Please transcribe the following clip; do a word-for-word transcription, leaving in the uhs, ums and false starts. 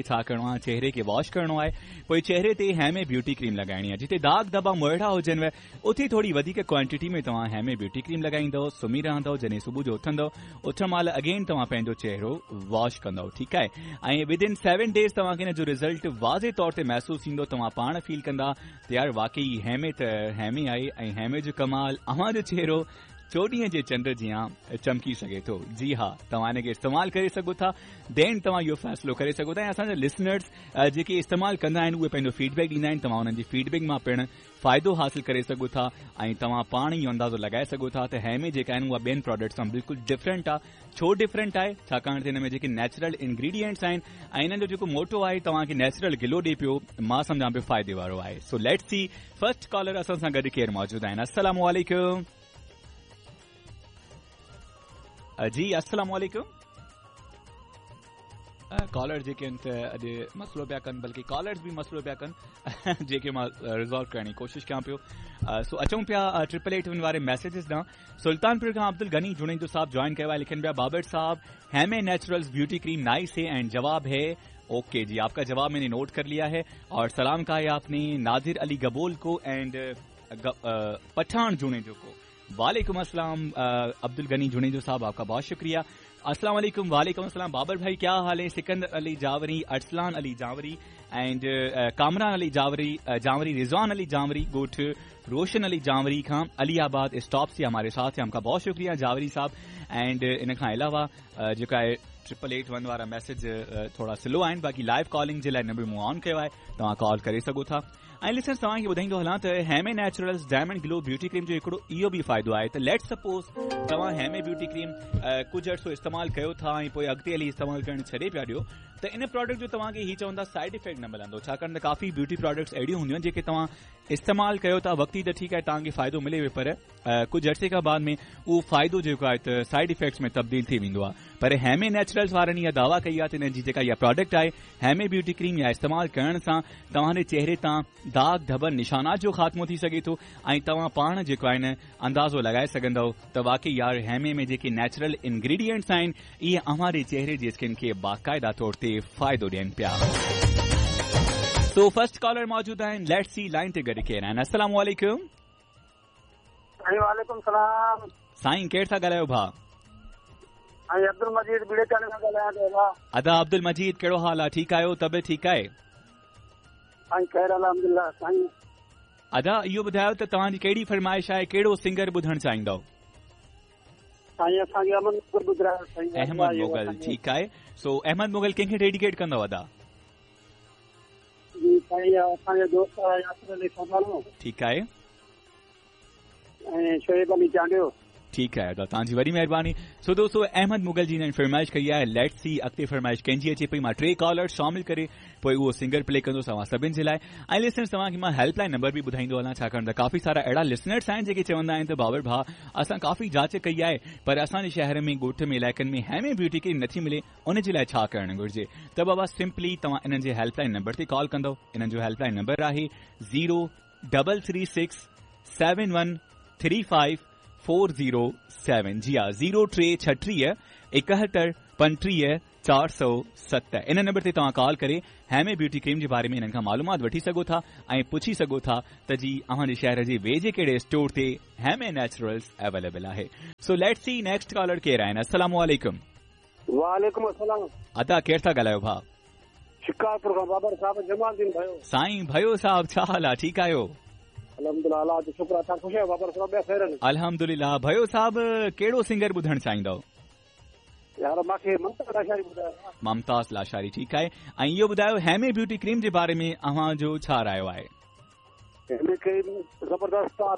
छा करिणो आहे, चेहरे खे वॉश करिणो आहे, पोइ चेहरे ते हेमे ब्यूटी क्रीम लॻाइणी आहे। जिते दाग धब्बा मोइड़ा हुजनि उते थोरी वधीक क्वांटिटी में तव्हां हेमे ब्यूटी क्रीम लॻाईंदव, सुम्ही रहंदव। जॾहिं सुबुह जो उथंदव, उथण महिल अगेन तव्हां पंहिंजो चेहरो वॉश कंदव, ठीकु आहे। ऐं विद इन सेवन डेज़ तव्हांखे हिन जो रिज़ल्ट वाज़े तौर ते महसूसु थींदो। तव्हां पाण फील कंदा त यार वाकई हेमे त हेमे आहे ऐं हेमे जो कमाल अव्हां जो चेहरो चोॾहीं जे चंड जीअं चमकी सघे थो। जी हा, तव्हां हिनखे इस्तेमालु करे सघो था, then तव्हां इहो फ़ैसिलो करे सघो था। ऐं असांजा लिसनर्स जेके इस्तेमालु कंदा आहिनि उहे पंहिंजो फीडबैक ॾींदा आहिनि, तव्हां उन्हनि जी फीडबैक मां पिणु फ़ाइदो हासिल करे सघो था ऐं तव्हां पाण इहो अंदाज़ो लॻाए सघो था त हेमे जेका आहिनि उहा ॿियनि प्रोडक्ट्स सां बिल्कुलु डिफरेंट आहे। छो डिफरेंट आहे? छाकाणि त हिन में जेके नेचुरल इंग्रीडियंट्स आहिनि ऐं हिननि जो जेको मोटो आहे तव्हांखे नेचुरल ग्लो ॾिए पियो, मां सम्झां पियो फ़ाइदे वारो आहे। सो let's see first collar असां सां गॾु केरु मौजूदु आहिनि। अस्सलाम वालेकुम। जी अस्सलाम वालेकुम। कॉलर जेके आहिनि त अॼु मसइलो पिया कनि, बल्कि कॉलर्स बि मसइलो पिया कनि जेके मां रिज़ॉल्व करण जी कोशिशि कयां पियो। सो अचूं पिया ट्रिपल एट वन वारे मैसेजेस ॾांहुं। सुल्तानपुर खां अब्दुल गनी जुणेजो साहब जॉइन कयो आहे, लिखनि पिया बाबर साहब हेमे नेचुरल्स ब्यूटी क्रीम नाइस है एंड जवाब है ओके। जी आपका जवाब मैंने नोट कर लिया है और सलाम कहा है आपने नादिर अली गबोल को एंड पठान जुणेजो को। वालेकुम अस्सलाम अब्दुल गनी जुणेजो साहब, आपका बहुत शुक्रिया। अस्सलाम वालेकुम। वालेकुम अस्सलाम बाबर भाई, क्या हाल है? सिकंदर अली जावरी, अरसलान अली जावरी एंड कामरान अली जावरी जावरी रिजवान अली जावरी, गोठ रोशन अली जावरी खां अली आबाद स्टॉप से हमारे साथ हैं, आपका बहुत शुक्रिया जावरी साहब। एंड इन खां अलावा जेका आहे ट्रिपल एट वन वारा मैसेज थोड़ा स्लो आहिनि, बाक़ी लाइव कॉलिंग जे लाइ नंबर मूं ऑन कयो आहे, तव्हां कॉल करे सघो था। ऐं लिसनर्स तव्हांखे ॿुधाईंदो हलां त हेमे naturals diamond glow beauty cream जो हिकिड़ो इहो बि फ़ाइदो आहे त लेट सपोज़ तव्हां हेमे ब्यूटी क्रीम कुझु अरसो इस्तेमालु कयो था ऐं पोइ अॻिते हली इस्तेमालु करणु छॾे पिया ॾियो त इन प्रोडक्ट जो तव्हांखे हीअ चवंदा साइड इफ़ेक्ट न मिलंदो, छाकाणि त काफ़ी ब्यूटी प्रोडक्ट्स अहिड़ियूं हूंदियूं आहिनि जेके तव्हां इस्तेमालु कयो था वक़्ती त ठीकु आहे तव्हांखे फ़ाइदो मिले वियो, पर कुझु अरसे खां बाद में उहो फ़ाइदो जेको आहे त साइड इफ़ेक्ट्स में तब्दील थी वेंदो आहे। पर हेमे नेचुरल्स वारनि इहा दावा कई आहे त हिननि जी जेका इहा प्रोडक्ट आहे हेमे ब्यूटी क्रीम इहा इस्तेमालु करण सां तव्हांजे चेहरे तां दाग धबन निशानात जो ख़ात्मो थी सघे थो ऐं तव्हां पाण जेको आहे न अंदाज़ो लॻाए सघंदव त वाकई यार हेमे में जेके नेचुरल इंग्रीडियंट्स आहिनि इहे अव्हां जे चेहरे जी स्किन खे बाक़ाइदा तौर ते फ़ाइदो ॾियनि पिया। सो फर्स्ट कॉलर मौजूद आहिनि, let's see line ते गॾु केरु आहिनि। अस्सलाम वालेकुम। वालेकुम सलाम। साईं केरु था ॻाल्हायो भाउ? साईं अब्दुल मजीद बीड़े खां ॻाल्हायां थो। अदा अब्दुल मजीद कहिड़ो हाल आहे? ठीकु आहियो? तबियत ठीकु आहे? साईं ख़ैर अल्हम्दुलिल्लाह। साईं अदा इहो ॿुधायो त तव्हांजी कहिड़ी फरमाइश आहे, कहिड़ो सिंगर ॿुधणु चाहींदव? साईं असांखे अहमद मुगल ॿुधायो। साईं अहमद मुगल ठीकु आहे। सो अहमद मुगल कंहिंखे डेडिकेट कंदव अदा? जी साईं असांजो दोस्त आहे यासिर अली सोनालो। ठीकु आहे। ऐं शोएब अली चांडियो। ठीकु आहे अदा, तव्हांजी वॾी महिरबानी। सो दोस्तो अहमद मुगल जी हिननि फरमाइश कई आहे, let's see अॻिते फरमाइश कंहिंजी अचे पई। मां टे कॉलर शामिल करे पोइ उहो सिंगर प्ले कंदुसि तव्हां सभिनि जे लाइ। ऐं लिसनर्स तव्हांखे मां हेल्पलाइन नंबर बि ॿुधाईंदो हलां, छाकाणि त काफ़ी सारा अहिड़ा लिसनर्स आहिनि जेके चवंदा आहिनि त बाबर भाउ असां काफ़ी जांच कई आहे पर असांजे शहर में ॻोठ में इलाइक़नि में हेमे ब्यूटी क्रीम नथी मिले, उन जे लाइ छा करणु घुरिजे? त बाबा सिंपली तव्हां इन्हनि जे हेल्पलाइन नंबर ते कॉल कंदव। इन्हनि जो हेल्पलाइन नंबर आहे zero double three six seven one three five four zero seven. जी हा, ज़ीरो टे छटीह एकहतरि पंटीह चारि सौ सत। इन नंबर ते तव्हां कॉल करे हेमे ब्यूटी क्रीम जे बारे में हिननि खां मालूमात वठी सघो था ऐं पुछी सघो था त जी अव्हांजे शहर जे वेझे कहिड़े स्टोर ते हेमे नेचुरल्स अवेलेबल आहे। So let's see next caller केरु आहिनि। अस्सलाम वालेकुम। वालेकुम अस्सलाम। अदा केरु था ॻाल्हायो भाउ? शिकारपुर खां बाबर साहब जमालदीन भयो। साईं भयो साहब छा हाल आहे? ठीकु आहियो? अल्हम्दुलिल्लाह, अल्लाह जो शुक्र आहे। तव्हां ख़ुशि आहियो बाबर साहब? ॿिया ख़ैर आहिनि? अल्हम्दुलिल्लाह। भयो साहब कहिड़ो सिंगर ॿुधणु चाहींदव? यार मूंखे ममताज़ लाशारी ॿुधायो। ममताज़ लाशारी ठीकु आहे। ऐं इहो ॿुधायो हेमे ब्यूटी क्रीम जे बारे में अव्हां जो छा रायो आहे? हेमे क्रीम ज़बरदस्त आहे,